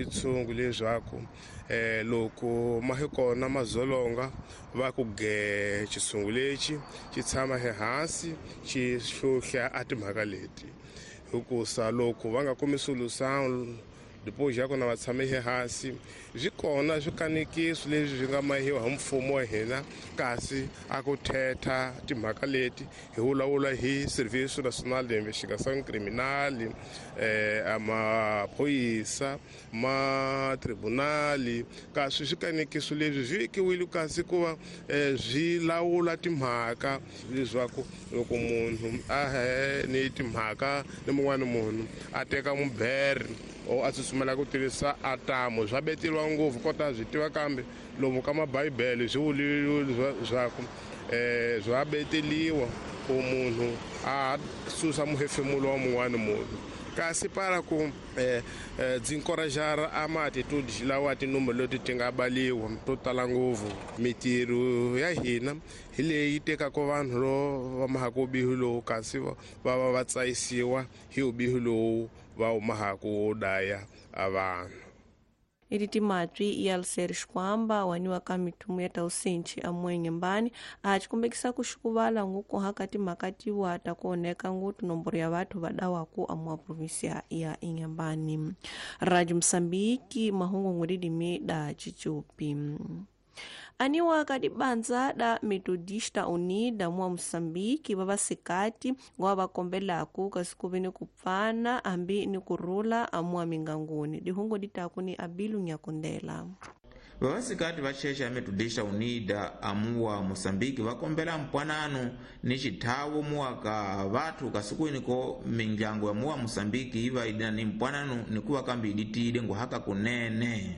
Tshungu leswaku loko ma hi kona mazolonga va ku ge xitshungu lexi xi tshama ehansi xi hlohla a timhaka leti hikusa loko va nga kumi solution depois ya kona va tshame ehansi swi kona swikanekiso leswi swi nga mahiwa hi mfumo wa hina kasi a ku thetha timhaka leti hi vulavula hi Serviço Nacional de Investigação Criminal, maphorisa ma tribunali kasi swikanekiso leswi swi vekiwile kasi ku va swi lawula timhaka leswaku loko munhu a he ni timhaka ni mun'wana munhu a teka mubere o a tsutsumela ku tirhisa atamu swa beteriwa ngopfu kota swi tiva kambe lomu ka mabibele swi vuliwe leswaku swa beteliwa ku munhu a susa muhefemulo wa mun'wana munhu kasi para ku byi encourager a ma-attitude lawa tinumba leti ti nga baliwa to tala ngopfu mitirho ya hina hi leyi tekaka vanhu lo va mahaka vubihi lowu kasi va va va tsayisiwa hi vubihi lowu va wu mahaka wo daya a vanhu. Iti timatwi ya Luseri Xikwamba waniwa ka mithumu ya tausinchi amwenyembani a chikumbekisa kuxikuvala nguku haka timhaka tiwa ta kuoneka ngutu nomboro ya vathu vadawaku amwa provinsia ya Inhambane. Rádio Moçambique mahungu ngudidimi da Chichupi. Aniwa kadibanza da Metodista Unida mwa Moçambique vavasikati ngwa vakombelaku kasi kuve ni kupfana hambi ni kurhula amwa minganguni. Dihungo ditaku ni Abilu Nyakundela. Vavasikati va cheche ya Metodista Unida amuwa Moçambique vakombela mpwanano ni xithawu muwaka vathu kasikwini ko mindyangu ya muwa Moçambique yi va idina ni mpwanano ni kuva kambe iditile nguhaka kunene.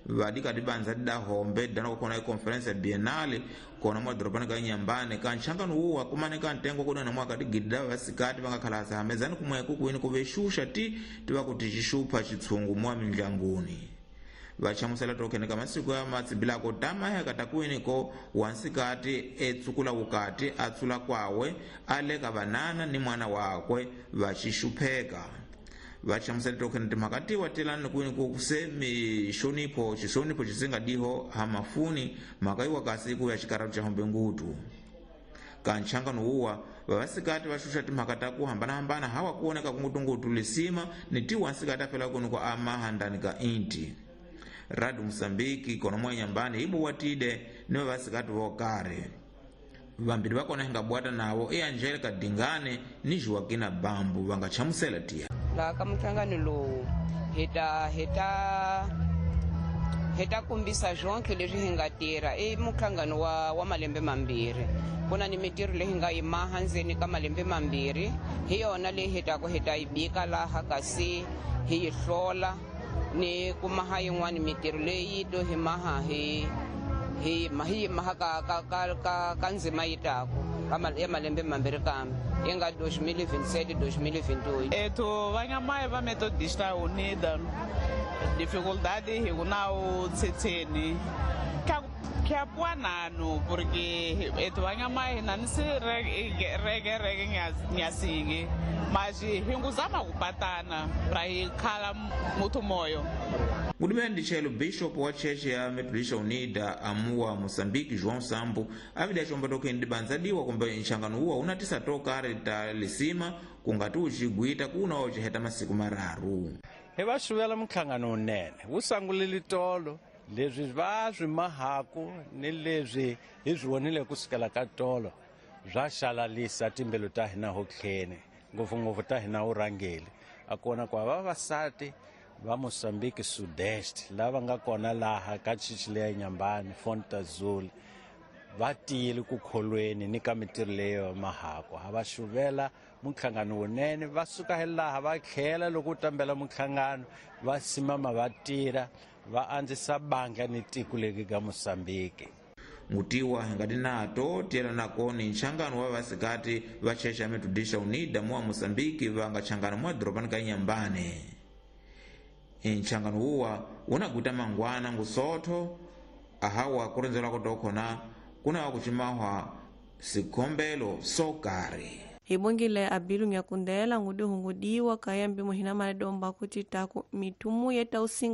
Vadika dibanza didahombe dana kukona ikonferensi ya bienale kona mwadorobani ka Inhambane ka nxangano wuwa kumanika ntengo kudana mwaka digidi vasikati vangakhalasa hamezani kumweku kuwini kuvexuxa ti tiva kuti xixupha xitshungu mwa mindlanguni. Vachamusela tokene ka masiku ya matsibilako tamaheka takuwini ko wansikati etsukula wukati atsula kwawe aleka vanana ni mwana wakwe vaxixupheka. Vachamusela tokene timhaka tiwa tilani kwini ku se mixonipho xixonipho xisingadiho hamafuni mhaka yiwa kasi ku ya xikarhatu xa hombe ngutu. Ka nxangano wuwa vavasikati va xuxa timhaka ta ku hambanahambana hawa kuoneka kungutungutu lisima ni ti wansikati afela kuni ku amahandani ka inti. Radio Moçambique kona mwa Inhambane ibuwatide ni vavasikati vo karhi. Vambirhi va kona hi nga bwata navo i Angelica Dingane ni Joaquina Bambu va nga chamusela tiya. Laha ka minhlangano lowu hi ta kombisa swonke leswi hi nga tirha i minhlangano wa malembe mambirhi. Ku na ni mintirho leyi hi nga yi maha ndzeni ka malembe mambirhi hi yona leyi hi taku hi ta yi bika laha kasi hi yi hlola ni ku maha yin'wani mintirho leyi to hi maha hi hi maha ka ndzima yi taku ya malembe mambirhi kambe yi nga 2027 2028. Ethu vanyamayi va Metodista Unida dificuldade hi ku na u tshetheni kyapuanano porque ethu vanyamayi na ni si reke reke nyasingi mas hi nguzama kupatana pra hi khala muthu moyo. Ngudimene chelo bishop wa cheche ya Metodista Unida amuwa Moçambique João Sambo avida chomba tokeni dibanzadiwa kumbe nxangano uwa unatisa tokari ta lisima kungati uxigwita kuna uchiheta masiku mararu. Hi va xuvela minhlangano wunene wu sangulile tolo leswi va swi mahaku ni leswi hi swi vonile kusukela ka tolo swa xalalisa timbilu ta hina hotlheni ngopfungopfu ta hina vurhangeli a kona ku vavasati va Moçambique Sudeste lava nga kona laha ka chichi leya Inhambane Fonte Azul va tiyile ku kholweni ni ka mintirho leyo mahaku ha va xuvela minhlangano wunene va suka hi laha va tlhela loko u tambela minhlangano va simama va tirha va andzisa bandla ni tiko leri ka Moçambique. Ngutiwa ngati nato tiyela nako ni nxangano wa vasikati va cheche ya Metodista Unida muwa Moçambique va nga changana mwa dorobani ka Inhambane. Nxangano wuwa unagwita mangwana ngusotho ahawa kurendzelwa kutokhona kuna wa kucimahwa sikhombelo sokari. Hibongile Abilu Nyakundela ngudihungudiwa kayambi muhina maledomba kuti taku mitumu yeta usinga.